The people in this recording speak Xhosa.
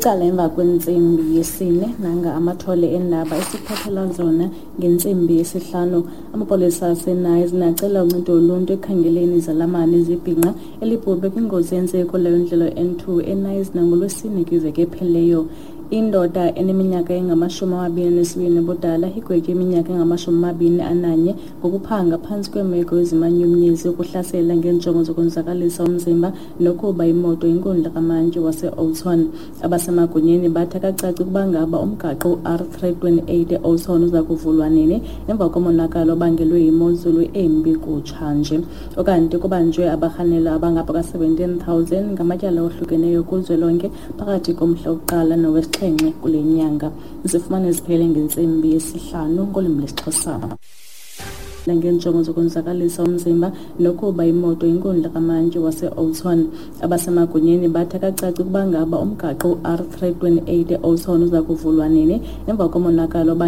Icala emva kwentsimbi yesine, nanga amathole eendaba esiphathela zona ngentsimbi yesihlanu. Amapolisa aseNayizna acela uncedo loluntu ekukhangeleni izalamane zebhinqa elibhubhe kwingozi eyenzeke kuleyo ndlela N2 eNayizna ngoLwesine kwiveki ephelileyo. Indoda eneminyaka engama-22 ubudala igwetywe iminyaka engama-21 ngokuphanga phantsi kweemeko ezimanyumnyezi, ukuhlasela ngeenjongo zokonzakalisa umzimba nokuba imoto inkundla kamantyi wase-Oudtshoorn. Abasemagunyeni bathi akacaci ukuba ngaba umgaqo u-R328 e-Oudtshoorn uza kuvulwa nini emva komonakalo obangelwe yimozulu embi kutshanje. Ukanti kubanjwe abarhanelwa abangapha ka-17 000 ngamatyala ohlukeneyo kuzwelonke phakathi komhla wokuqala nowesixhenxe kule nyanga. Zifumane ziphele ngentsimbi yesihlanu ngolwimi lwesiXhosa. Ngeenjongo zokonzakalisa umzimba nokuba imoto inkundla kamantyi wase-Oudtshoorn. Abasemagunyeni bathi akacaci ukuba ngaba umgaqo u-R328 e-Oudtshoorn uza kuvulwa nini emva komonakalo.